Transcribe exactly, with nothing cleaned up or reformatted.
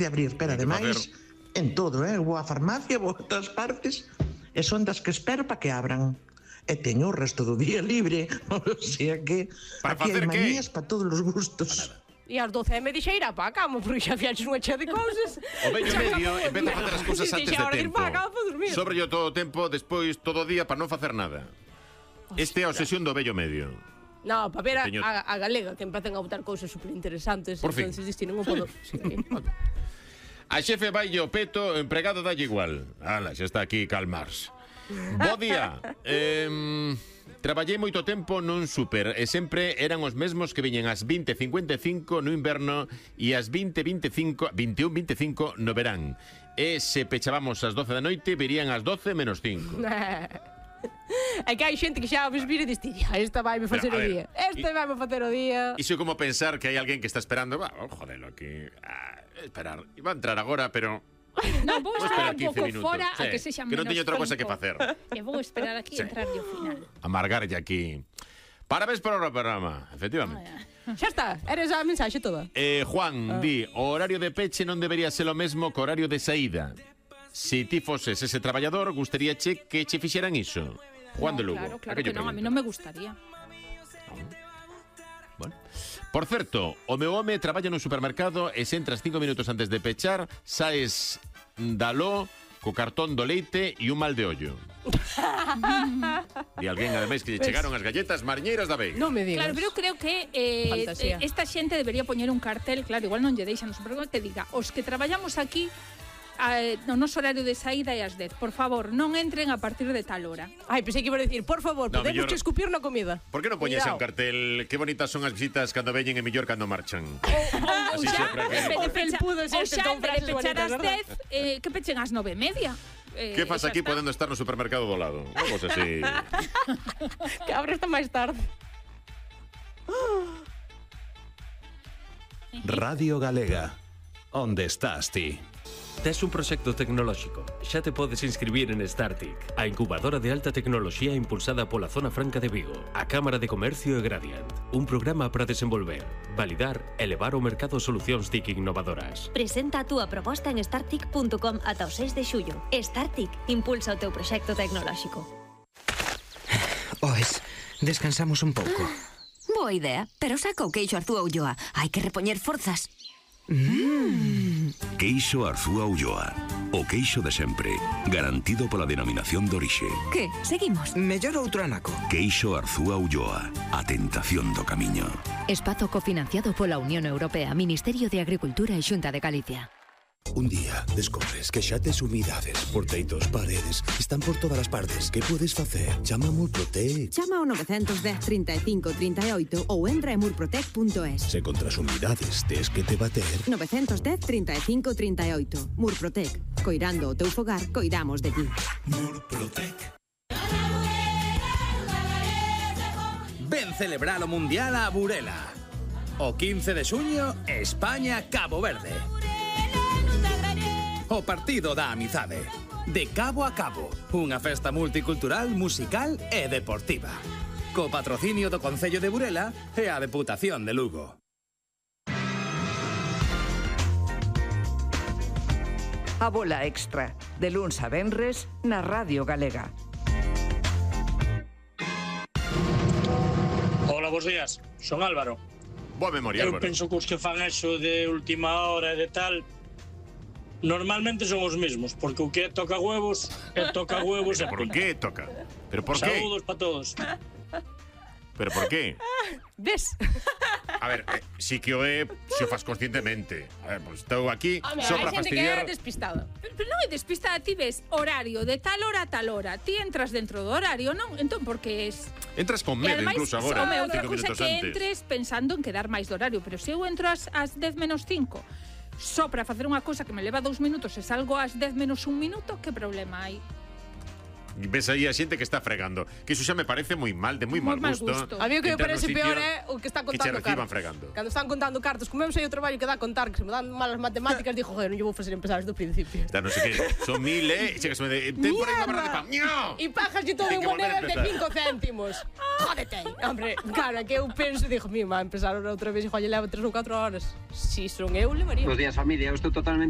de abrir, pero ademais, en todo, eh? Vou á farmacia, vou a todas partes, e son das que espero para que abran. E teño o resto do día libre, o sea que para aquí hai facer manías que? para todos os gustos. E ás doce e media xa irá para a cama, porque xa fiaches unha chea de cousas. O vello medio empeza a facer as cousas antes de tempo. Sobre yo todo o tempo, despois todo o día para non facer nada. Este é a obsesión do vello medio. No, para ver a, Teño... a, a galega, que empecen a botar cousas superinteresantes. Por fin. Entonces distinen un pouco. Sí. A xefe vai o peto, o empregado dalle igual. Ala, xa está aquí calmars. Bo día. Eh, traballei moito tempo nun súper e sempre eran os mesmos que viñen ás vinte e cincuenta e cinco no inverno e ás vinte e vinte e cinco, vinte e un e vinte e cinco no verán. E se pechábamos ás doce da noite, virían ás doce menos cinco. É que hai xente que xa ves vir e diste, esta vai me facer o día, esta vai me facer o día. Iso é como pensar que hai alguén que está esperando. Va, oh, jodelo aquí, ah, esperar. Iba a entrar agora, pero non, vou esperar un pouco fora sí, a que sexa menos menos que non teño outra cosa que facer. E vou esperar aquí sí. e entrar ao final. Amargarlle aquí. Parabéns por o programa, efectivamente. Ah, xa está, eres a mensaxe toda. Eh, Juan, ah. di, o horario de peche non debería ser o mesmo que o horario de saída. Se ti foses ese traballador, gustaríache que che fixeran iso. Juan no, de Lugo. Claro, claro que non, a mí non me gustaría. Bueno. Por certo, o meu home traballa no supermercado e se entras cinco minutos antes de pechar, saes daló co cartón do leite e un mal de ollo. E alguén, ademais, que lle chegaron as galletas mariñeiras da Veiga. Non me digas. Claro, pero eu creo que eh, esta xente debería poñer un cartel, claro, igual non lle deixan no supermercado, que diga, os que traballamos aquí no noso horario de saída é ás dez. Por favor, non entren a partir de tal hora. Ai, pensei que iba a decir, por favor, no, podemos mellor... escupir na comida. Por que non poñese un cartel? Que bonitas son as visitas cando veñen e mellor cando marchan. Ou xa, o felpudo ou xa, en vez de pechar ás dez, eh, que pechen ás nove e media. Eh, que faz aquí podendo estar no supermercado do lado? Vamos así. Que abre hasta máis tarde. Radio Galega. Onde estás ti? Tes un proxecto tecnolóxico. Xa te podes inscribir en StarTIC, a incubadora de alta tecnoloxía impulsada pola Zona Franca de Vigo, a Cámara de Comercio e Gradiant. Un programa para desenvolver, validar e levar ao mercado solucións TIC innovadoras. Presenta a túa proposta en startic punto com ata o seis de xullo. StarTIC impulsa o teu proxecto tecnolóxico. Oes, descansamos un pouco. Boa idea, pero saca o queixo Arzúa Ulloa. Hai que repoñer forzas. Mm. Queixo Arzúa Ulloa. O queixo de sempre, garantido pola denominación de orixe. Que? Seguimos? Mellor outro anaco. Queixo Arzúa Ulloa. A tentación do camiño. Espazo cofinanciado pola Unión Europea, Ministerio de Agricultura e Xunta de Galicia. Un día descobres que xa tes humidades por teitos, paredes, están por todas as partes. Que podes facer? Chama a Murprotec. Chama ao nove dez, trinta e cinco, trinta e oito ou entra en murprotec punto es. Se contra as humidades tes que te bater. nove dez, trinta e cinco, trinta e oito. Murprotec. Coirando o teu fogar, coidamos de ti. Murprotec. Ven celebrar o Mundial a Burela. O quince de xuño, España-Cabo Verde. O partido da amizade. De cabo a cabo, unha festa multicultural, musical e deportiva. Co patrocinio do Concello de Burela e a Deputación de Lugo. A bola extra, de luns a venres, na Radio Galega. Hola, bons días. Son Álvaro. Boa memoria, Eu Álvaro. penso que os que fan eso de última hora e de tal normalmente son os mesmos, porque o que toca huevos é toca huevos. ¿Por qué toca? ¿Pero por qué? Saúdos para todos. ¿Pero por qué? Ves? A ver, eh, sí que o é se o fas conscientemente. A ver, pues estou aquí Home, só para hai xente fastidiar. que é despistada. Pero, pero non é despistada, ti ves horario de tal hora a tal hora. Ti entras dentro do horario, non? Entón, porque es... Entras con medo incluso agora, home, outra cinco cousa minutos que antes. entres pensando en quedar máis do horario, pero se eu entro ás, ás dez menos cinco só para facer unha cousa que me leva dous minutos e salgo ás dez menos un minuto, que problema hai? Ves aí a xente que está fregando. Que iso xa me parece moi mal, de moi mal gusto. A mí o que me parece peor é o que está que che contando reciban cartos. fregando. Cando están contando cartos, como eu sei o traballo que dá contar, que se me dan malas matemáticas, digo, joder, non lle vou facer empezar desde o principio. Da non sei que, son mil, eh, e chegas de ten por aí unha barra de pan. ¡No! E pajas e todo Hai en que volver a monedas de empezar. cinco céntimos. Jódete. Hombre, cara, que eu penso, digo, mi, má, empezar outra vez e jolle leva tres ou catro horas. Si son eu, levaría. Bos días, familia. Eu estou totalmente